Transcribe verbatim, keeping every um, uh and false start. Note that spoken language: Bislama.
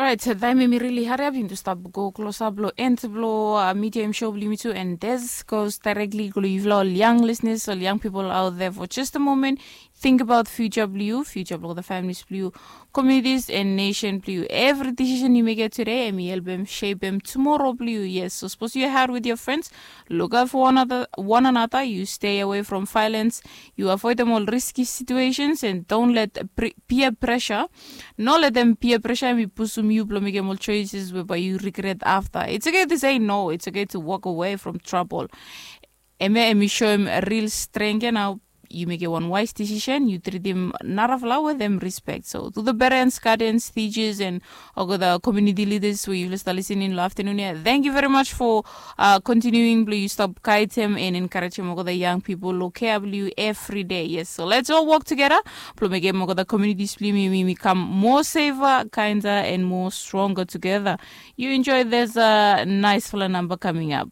Orait, taim em i rili hariap yumi tu stap go klosap long end blong media em show blong yumi tu, and this goes directly go long yufala ol young listeners, ol young people out there for just a moment. Think about future blong you, future blong the families blong you, communities and nation blong you. Every decision you make today em i help em shape em tomorrow blong you. Yes, so suppose you hang with your friends, look out for one another, one another. You stay away from violence, you avoid them all risky situations, and don't let peer pressure no let them peer pressure em i pusum yu blong mekem ol choices we bai yu regret afta. It's okay to say no, it's okay to walk away from trouble. Em ya em i shoem real strength ya nao. Yu mekem wan wise decision, yu tritim narafala wetem respect. So to the parents, guardians, teachers and olgeta community leaders we yufala stap listening long afternoon ya, thank you very much for continuing blong yu stop guidem and encouragem olgeta young people long care blong yu every day. Yes, so let's all work together blong mekem olgeta communities blong yumi yumi kam more safer, kinder and more stronger together. You enjoy this uh, nice fala number coming up.